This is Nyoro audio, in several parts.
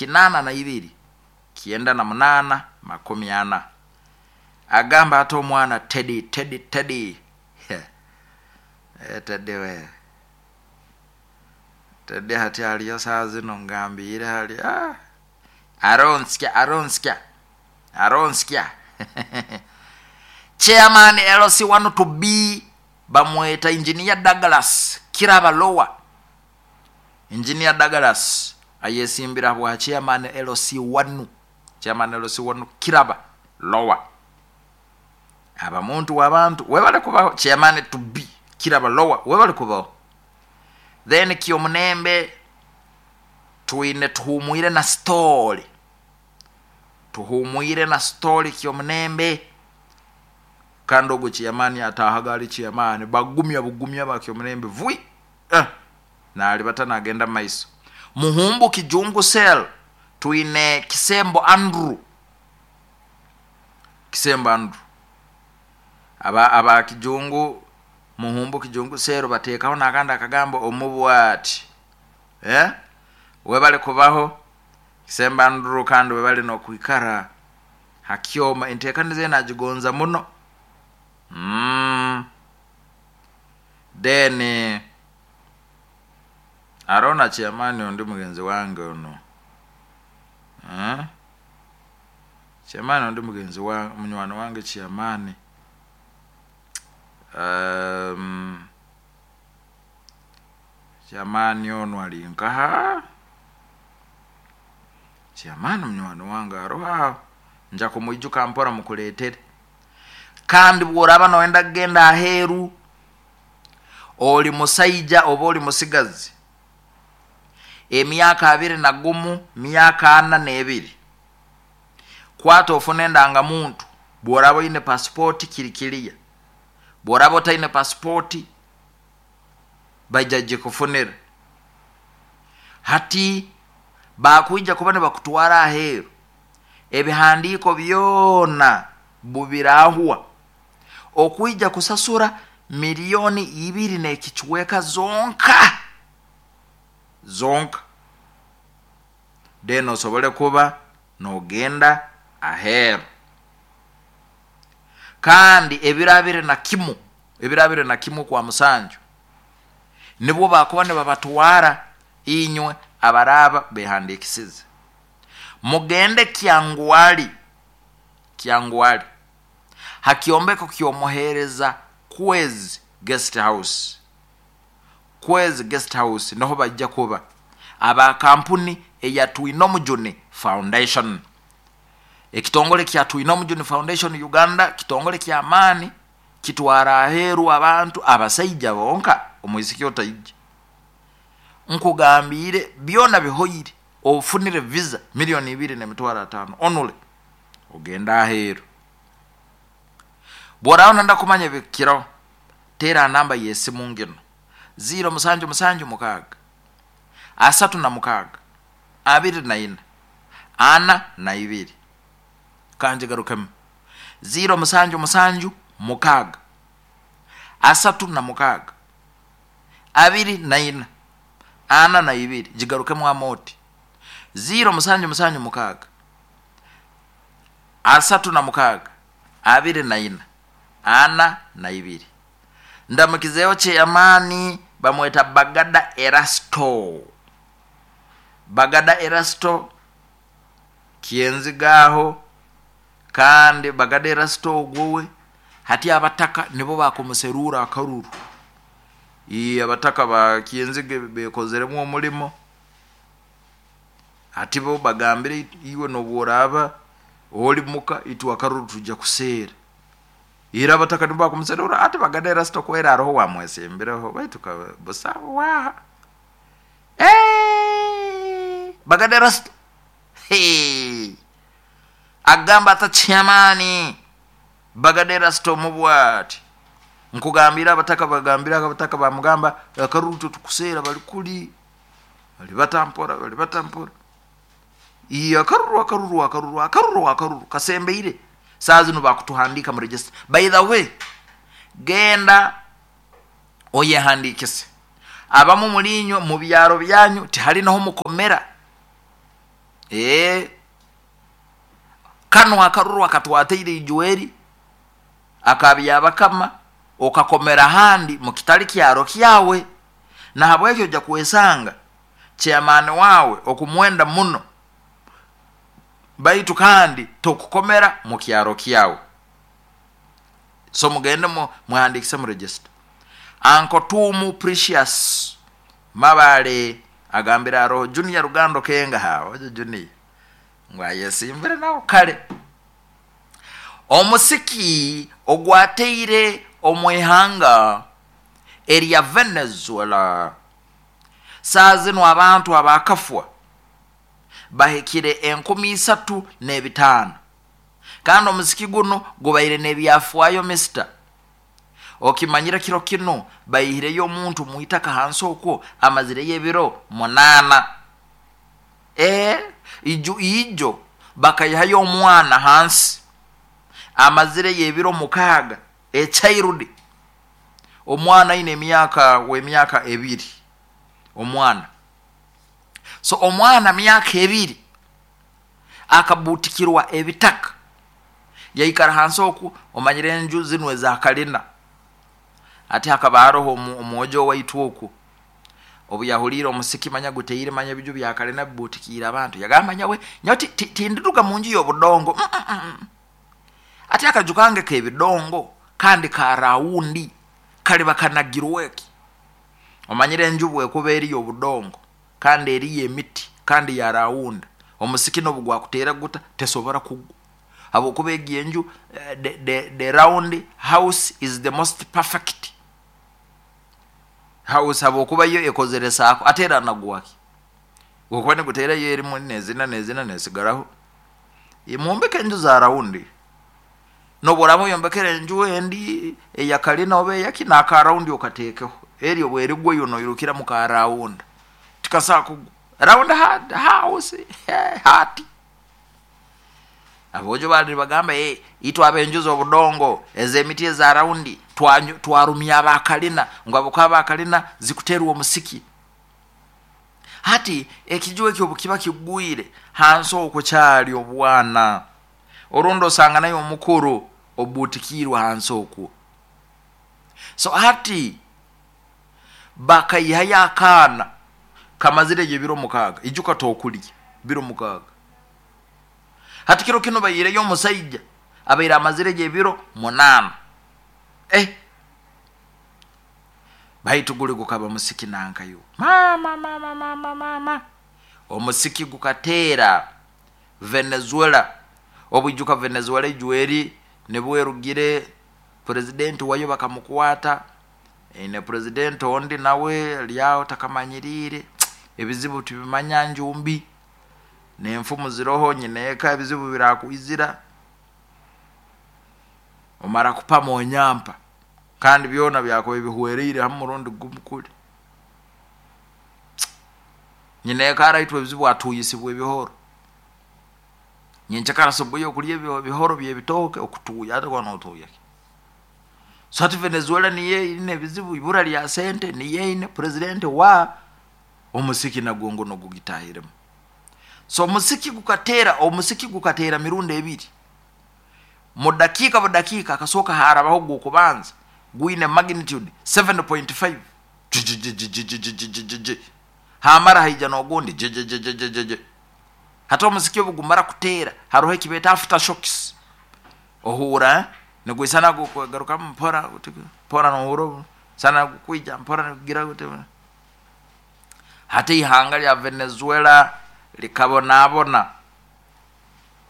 82 98 40. Agamba ati omwana Teddy, Teddy, Teddy. Teddy we, Teddy hati aliyo saa zino ngambiire hali aronskya, aronskya, aronskya. Chairman LC1 to B bamweta Engineer Douglas Kiraba Lower. Engineer Douglas ayesimbira bwa chairman LC1, chairman LC1 Kiraba Lower. Aba muntu w'abantu webale kubaho. Chairman to B Kiraba Lower webale kubaho. Then Kyomunembe twine tuhumwire na story, tuhumwire na story Kyomunembe. Kandi ogwo chairman atahaga ali chairman bagumya bugumya ba Kyomunembe vui nalibata nagenda maiso. Muhumbu Kijungu cell twine Kisembo Andrew, Kisembo Andrew aba Kijungu, Muhumbu Kijungu cell batekaho nakandi akagambo omubwati webale kubaho Kisembo Andrew, kandi webale nokwikara hakyoma entekaniza nagigonza muno. Then arona chairman ondi mugenzi wange ono chairman ondi mugenzi wange munywani wange chairman chairman ono ali nkaha chairman munywani wange aroha nja kumwijuka mpora mukuletere. Kandi bworaba noenda kugenda aheru oli musaija oba oli musigazi emyaka 21 myaka 42 kwata ofune ndangamuntu. Bworaba oine pasipoti kirikiriya, bworaba otaine pasipoti baija gikufunira. Hati bakwija kuba nibakutwara aheru ebihandiiko byona bubirahwa okwija kusasura 2 n'ekichweka zonka zonka, then osobole kuba nogenda aheru. Kandi ebiro 21, ebiro 21 kwa musanju nibwo bakuba nibabatwara inywe abaraba behandikisize mugende Kyangwali, Kyangwali hakiombeko kyomuhereza Kwezi Guest House, Kwezi Guest House niho bajja kuba aba kampuni eya Twinomujuni Foundation. Ekitongole kya Twinomujuni Foundation Uganda kitongole kya maani kitwara aheru abantu abasaija bonka omwisiki otaija. Nkugambire byona bihoire ofunire visa 2,500,000 onule ogenda aheru. Bworaba nda kumanya bikiro tera namba yesimu ngino 0 7 7 6 36 24 42. Kanje garukemu 0 7 7 6 36 24 42. Jigarukemu amoti 0 7 7 6 36 24 42. Ndamukizeo chairman bamweta Bagada Erasto, Bagada Erasto kienzigaho. Kandi Bagada Erasto ogwowe hati abataka nibo bakumuserura akaruru. Abataka ba kienzige bekozeremu omulimo ati bo bagambire iwe nobworaba oli muka itu akaruru tujja kuseera. Ira abataka nibo bakumuserura ati Bagada Erasto kwera aroho wamwesembireho baitu busawo waha Bagada Erasto hey agamba ata chairman Bagada Erasto mubwati nkugambira abataka bagambira abataka bamugamba akaruto tukuseera bali kuli bali batampora bali batampora iya akaruru akaruru akaruru akaruru akaruru kasembeire saa zino bakutuhandika mu register. By the way, genda oyehandikise abamu mulinyo mu byaro byanyu tihali naho mukomera. Ee, kanu akaruru akatwateire ijweri akabyabakama okakomera handi mukitali kyaro kyawe. Nahabwekyo ojja kwesanga chairman wawe okumwenda muno, baitu kandi tokukomera mu kyaro kyawe. So mugende mwehandikise mu register. Uncle Tumu Precious Mabale agambire aroho Junior Rugando Kenga, ha ojo Junior ngu ayesimbire nawe kale. Omusiki ogwateire omu ihanga erya Venezuela, saa zinu abantu abakafwa bahikire 3,500, kandi omusiki guno gubaire n'ebyafaayo. Mister, okimanyire kiro kinu baihireyo omuntu mwitaka hansi okwo amazireyo ebiro 8. Ijo ijo bakaihayo omwana hansi amazireyo ebiro 6, echild, omwana aine emyaka w'emyaka 2 omwana. So omwana myaka 2 akabutikirwa ebitaka yaikara hansi oku. Omanyire enju zinu eza kalina, ati hakaba haroho omwojo waitu oku, obu yahuliire omusiki manya guteire, manya ebiju bya kalina bibutikiire abantu, yagamba, nyawe nyawe tindiruga mu nju y'obudongo. Ati akaju kange k'ebidongo kandi ka rawundi kaliba kanagirweki? Omanyire enju bwekuba eri y'obudongo kandi eriyo emiti kandi ya rawunda, omusiki n'obu gwakuteera guta tesobora kugwa, habwokuba egi enju, the round house is the most perfect house, habwokuba yo ekozere saako. Ate era nagwaki gokuba niguteerayo erimu nezina nezina nesigaraho. Mwombeke enju za rawundi. Nobu oraaba oyombekere enju endi eya kalina oba eyaki, n'aka rawundi okateekeho, eri obu erigwa iwe noirukira mu ka rawunda, tikasobola kugwa. Round house hati aboojo baali nibagamba, itwe ab'enju z'obudongo ez'emiti eza rawundi twarumya abakalina ngu habwokuba abakalina zikuteerwa omusiki. Hati ekiju eki obu kiba kigwire hansi okwo kyali obwana, orundi osanga naye omukuru obutikiirwe hansi okwo. So hati bakaihayo akaana kamazireyo ebiro 6, ijuka tokulya biro 6. Hati kiro kinu baihireyo omusaija abaire amazireyo ebiro 8. Baitu guli gukaba musiki nankayo, mama mama mama mama, omusiki gukateera Venezuela. Obwijuka Venezuela ijweri nibwerugire purezidenti wayo bakamukwata, eine purezidenti ondi nawe alyaho takamanyiriire. Ebizibu tibimanya njumbi n'enfumu ziroho nyineeka ebizibu birakwizira omara kupama onyampa, kandi byona byakuba bihwereire hamu murundi gumu kuli. Nyineeka araitwe ebizibu atuyisibwa ebihoro, nyenkyakara subuhi okulya ebihoro by'ebitooke okutuuya, ate kuba notuuya ki? So hati Venezuela niyo eine ebizibu, ibura lya sente, niyo eine purezidenti wa omusiki nagwo nguno gugitahiremu. So omusiki gukateera, omusiki gukateera mirundi ebiri mu dakiika budakiika. Akasooka harabaho gw'okubanza gwine magnitude 7.5, jijijijijijijiji, hamara haija n'ogundi jijijijijiji. Hati omusiki obu gumara kuteera haroho ekibeeta after shocks, ohuura nigwisana gugarukamu mpora mpora, nohuura sana gukwija mpora nigugira guti. Hati ihanga lya Venezuela likabonabona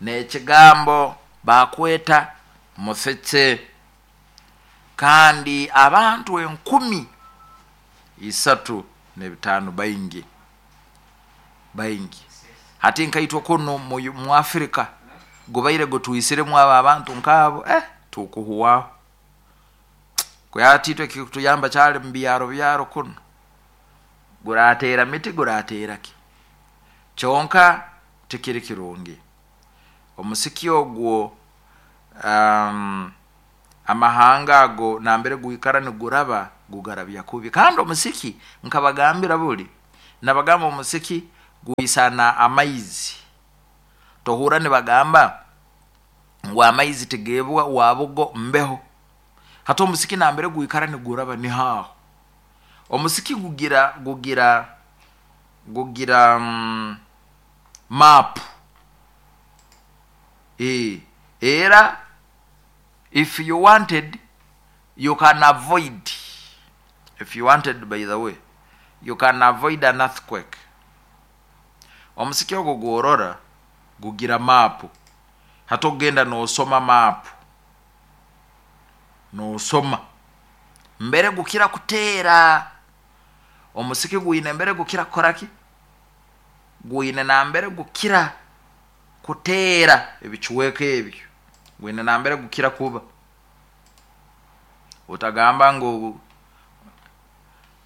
n'ekigambo bakweta musiki, kandi abantu 3,005 baingi baingi. Hati nkaitwe kunu mu Afrika gubaire gutwisiremu abo abantu nkaabo, tukuhwaho. Hati itwe ekikutuyamba kyali mu byaro byaro kunu, gurateera miti gurateera ki, kyonka tikiri kirungi omusiki ogwo. Amahanga ago nambere gwikara niguraba gugarabya kubi. Kandi omusiki nkabagambira buli nabagamba, omusiki gwisana amaizi. Tohurra nibagamba ngu amaizi tigeebwa wabugo mbeho. Hati omusiki nambere gwikara niguraba niho aho. Omusiki gugira map. Era if you wanted, you can avoid, if you wanted, by the way, you can avoid an earthquake. Omusiki ogwo gworora gugira map. Hati ogenda nosoma map, nosoma mbere gukira kuteera. Omusiki gwine mbere gukira kukoraki, gwine nambere gukira kuteera ebicweka ebyo, gwine nambere gukira kuba. Otagamba ngu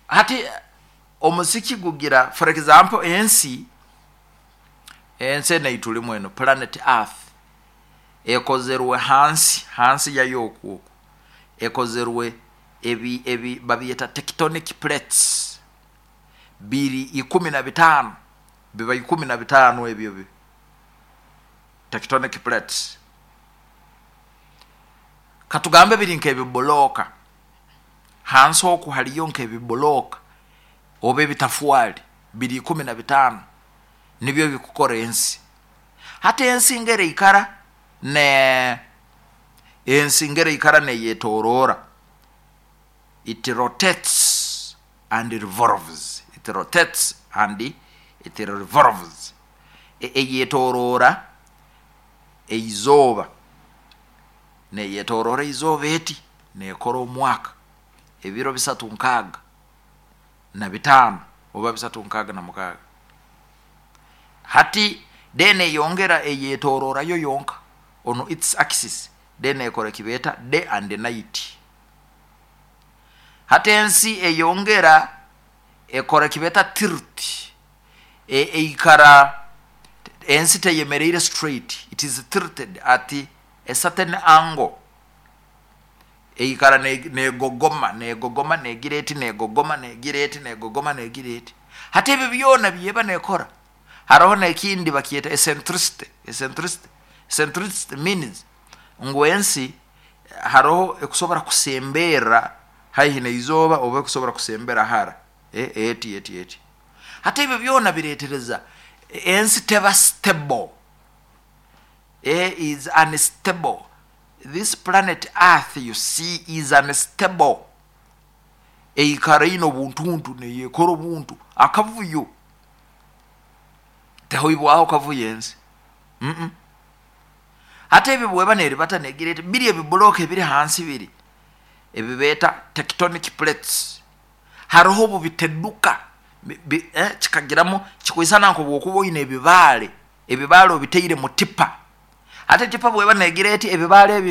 hati omusiki gugira, for example, ensi enu eitulimu enu, planet earth, ekozerwe hansi yayo oku ekozerwe ebi babyeta tectonic plates, biri 15, biba 15 ebyo bi tectonic plates. Katugambe biri nk'ebibuloka, hansi oku haliyo nk'ebibuloka oba ebitafwali biri 15, nibyo bikukora ensi. Hati ensi ngeri ikara ne ensi ngeri ikara neyetorora, it rotates and revolves, it rotates and it revolves. Eyetorora eizooba, neyetorora eizooba eti nekora omwaka ebiro 365 oba 366. Hati then eyongera eyetororayo yonka on its axis, then ekora ekibeeta day and night. Hati ensi eyongera ekora ekibeeta tilt, eikara ensi teyemereire straight, it is tilted at a certain angle. Eikara negogoma negogoma negira eti, negogoma negira eti, negogoma negira eti. Hati ebi byona byeba nekora, haroho nekindi bakyeta eccentricity. Eccentricity means ngu ensi haroho ekusobora kusemberra haihi neizooba oba ekusobora kusembera hara, eti eti eti. Hati ebyo byona biretereza ensi teba stable, is unstable. This planet earth you see is unstable. Eikara ine obuntuntu neyekora obuntu akavuyo, tehoibwaho kavuyo ensi. Hati ebyo bweba neribata negira eti, biri ebibuloka ebiri hansi biri ebibeeta tectonic plates, haroho obubiteduka kikagiramu kikwisana nk'obwokuba oine ebibaale, ebibaale obiteire mu tipa. Hati tipa bweba negira eti ebibaale ebi